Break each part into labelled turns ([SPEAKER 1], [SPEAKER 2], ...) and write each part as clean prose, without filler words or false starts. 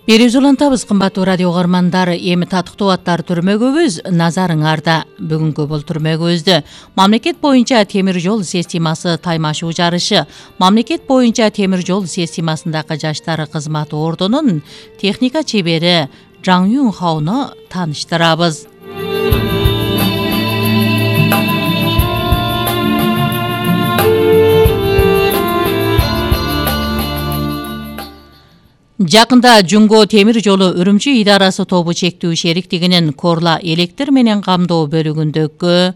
[SPEAKER 1] Берип улантабыз кымбаттуу радио угармандар. Эми татыктуу аттар түрмөгүбүз назарыңарда. Бүгүнкү бул түрмөгүбүздө мамлекет боюнча темир жол системасы таймашуу жарышы, мамлекет боюнча темир жол системасындагы жаштар кызматы ордунун техника чебери Жан Юнхаону тааныштырабыз. Жакында Жунго темир жолу Үрүмчү идарасы тобу чектүү шериктигинин Корла электр менен камдоо бөлүгүндөгү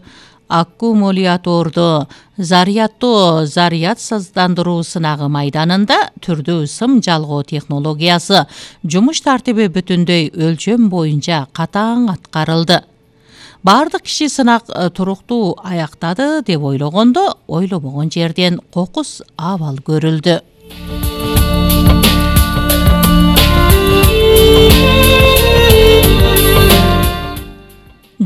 [SPEAKER 1] аккумуляторду зарядсыздандыруу сынагы майданында түрдүү сым жалгоо технологиясы жумуш тартиби бүтүндөй өлчөм боюнча катаң аткарылды. Бардык киши сынак туруктуу аяктады деп ойлогондо, ойлобогон жерден кокус абал көрүлдү.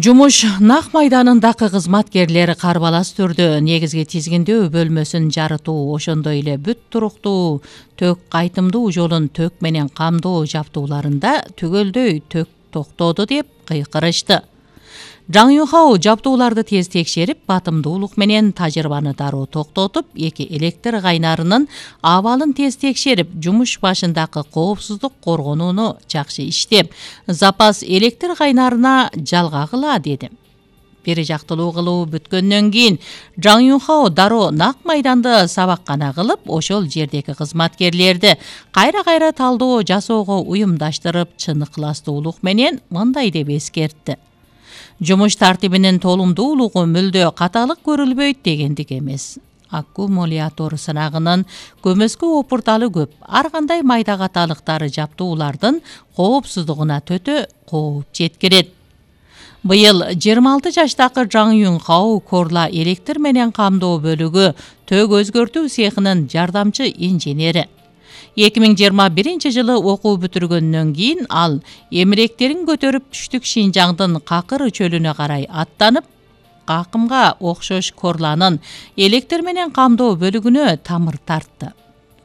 [SPEAKER 1] Жумуш нак майданындагы кызматкерлер карбалас түрдө негизги тизгиндөө бөлмөсүн жарытуу, ошондой эле бүт туруктуу төк кайтымдуу жолун төк менен камдоо жабдууларында түгөлдөй төк токтоду деп кыйкырышты. Жан Юнхао жабдууларды тез текшерип, батымдуулук менен тажрыйбаны дароо токтотуп, эки электр кайнарынын абалын тез текшерип, жумуш башындагы коопсуздук коргонууну жакшы иштеп, запас электр кайнарына жалгагыла деди. Бир жактылуу кылуу бүткөндөн кийин Жан Юнхао дароо нак майданды сабаккана кылып, ошол жердеги кызматкерлерди кайра-кайра талдоо жасоого уюмдаштырып, чын ыкыластуулук менен мындай деп эскертти. Жумуш тартибинин толумдуулугу мүлдө каталык көрүлбөйт дегендик эмес. Аккумулятор сынагынын көмөскө опурталы көп. Ар кандай майда каталыктары жабдуулардын коопсуздугуна төтө кооп жеткирет. Быйыл 26 жаштагы Жан Юнхао Корла электр менен камдоо бөлүгү төк өзгөртүү цехинин жардамчы инженери. 2021 жылы окуу бүтүргөндөн кийин ал эмиректерин көтөрүп түштүк Шинжаңдын Какыр чөлүнө карай аттанып, Какымга окшош Корланын электр менен камдоо бөлүгүнө тамыр тартты.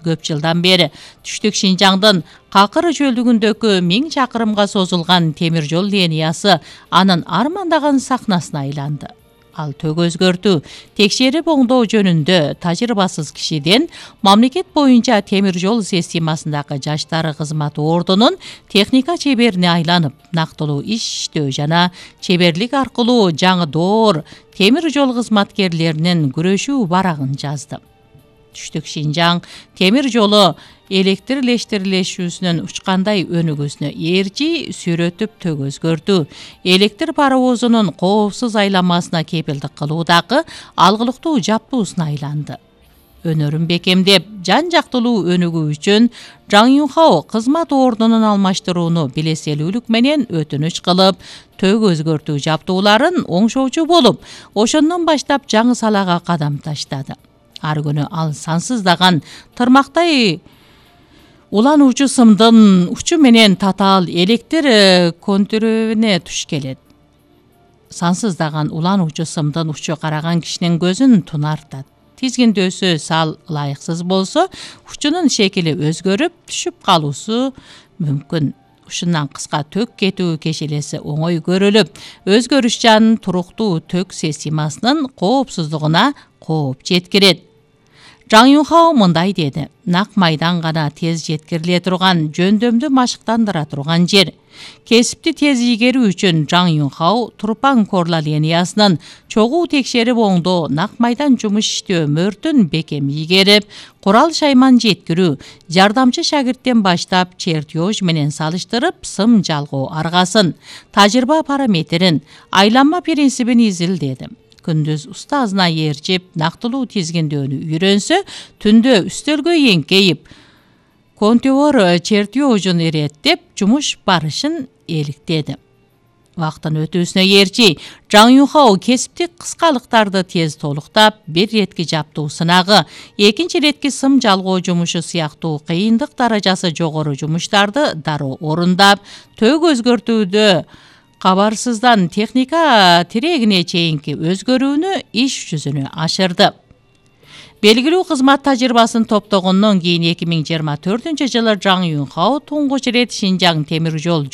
[SPEAKER 1] Көп жылдан бери түштүк Шинжаңдын Какыр чөлдүгүндөгү 1000 чакырымга созулган темир жол линиясы анын армандаган сахнасына айланды. Ал төк өзгөртүү, текшерип оңдоо жөнүндө тажрыйбасыз кишиден мамлекет боюнча темир жол системасындагы жаштар кызматы ордунун техника чеберине айланып, нактылуу иштөө жана чеберлик аркылуу жаңы доор темир жол кызматкерлеринин күрөшүү барагын жазды. Түштүк Шинжаң темир жолу электрлештирилишүүсүнүн учкандай өнүгүүсүнө ээрчи сүрөтүп төк өзгөртүү, электр паровозунун коопсуз айланмасына кепилдик кылуудагы алгылыктуу жабдуусуна айланды. Өнөрүн бекемдеп, жан жактылуу өнүгүү үчүн Жан Юнхао кызмат ордунун алмаштырууну билеселүүлүк менен өтүнүч кылып, төк өзгөртүү жабдууларын оңшоочу болуп, ошондон баштап жаңы салага кадам таштады. Ар күнү ал сансыздаган тырмактай улануучу сымдын учу менен татаал электр контүрүнө туш келет. Сансыздаган улануучу сымдын учу караган кишинин көзүн тунартат. Тизгиндөөсү сал ылайыксыз болсо, учунун шекили өзгөрүп, түшүп калуусу мүмкүн. Ушундан кыска төк кетүү кешелеси оңой көрүлүп, өзгөрүшчан туруктуу төк системасынын коопсуздугуна кооп жеткирет. Жан Юнхао мындай деди: нак майдан гана тез жеткириле турган, жөндөмдү машыктандыра турган жер. Кесипти тез ийгерүү үчүн Жан Юнхао Турпан Корла линиясынын чогуу текшерип оңдоо, нак майдан жумуш иштөө мөртүн бекем ийгерип, курал шайман жеткирүү, жардамчы шагирттен баштап чертеж менен салыштырып, сым жалгоо аргасын, тажрыйба параметрин, айланма принцибин изилдеди. Күндүз устазына ээрчип, нактылуу тизгиндөөнү үйрөнсө, түндө үстөлгө эңкейип, контур чертежин иреттеп, жумуш барышын эликтеди. Вактын өтүүсүнө ээрчи, Жан Юнхао кесиптик кыскалыктарды тез толуктап, бир ретки жабдуу сынагы, экинчи ретки сым жалгоо жумушу сыяктуу кыйындык даражасы жогору жумуштарды дароо орундап, төк өзгөртүүдө кабарсыздан техника тирегине чейинки өзгөрүүнү иш жүзүнө ашырды. Белгилүү кызмат тажрыйбасын топтогондон кийин 2024 жылы Жаң Юнхао туңгуч ирет Шинжаң темир жол